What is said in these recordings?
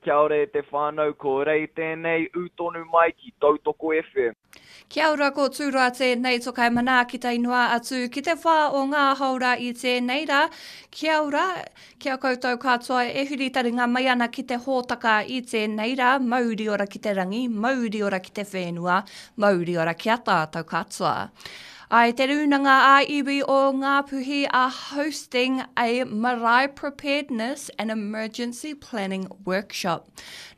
Kia ora e te whānau, ko Rei tēnei, ū tonu mai ki Tautoko FM. Kia ora ko Tūroa tēnei tokai manaaki tae noa atu ki te whā o ngā haora i tēnei rā. Kia ora, kia koutou katoa e huri taringa mai ana ki te hōtaka i tēnei rā, mauri ora ki te rangi, mauri ora ki te whenua, mauri ora ki a tātou katoa. I Te Rūnanga ā-Iwi o Ngāpuhi are hosting a Marae Preparedness and Emergency Planning Workshop.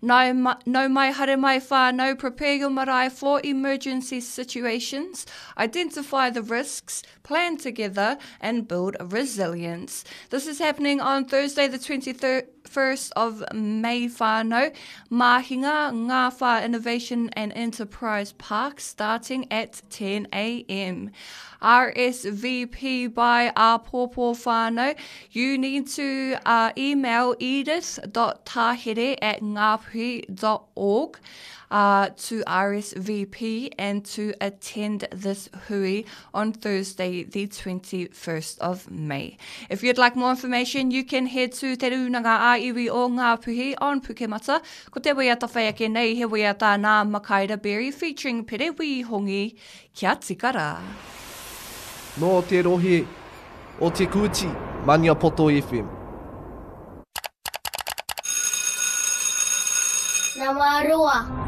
Nau, nau mai haere mai whānau, prepare your marae for emergency situations, identify the risks, plan together and build resilience. This is happening on Thursday the 23rd 1st of May whānau, Māhinga, Ngāwhā Innovation and Enterprise Park starting at 10am. RSVP by Āpōpō whānau, you need to uh, email edith.tahere at ngāpuhi.org uh, to RSVP and to attend this hui on Thursday, the 21st of May. If you'd like more information, you can head to Te Rūnanga ā-Iwi o Ngāpuhi on Pukemata. Ko te waiata whai ake nei, he waiata nā Makaira Berry featuring Pere Wīhongi, Kia tika rā. Nō te rohe o Te Kooti, Maniapoto FM. Nama roa.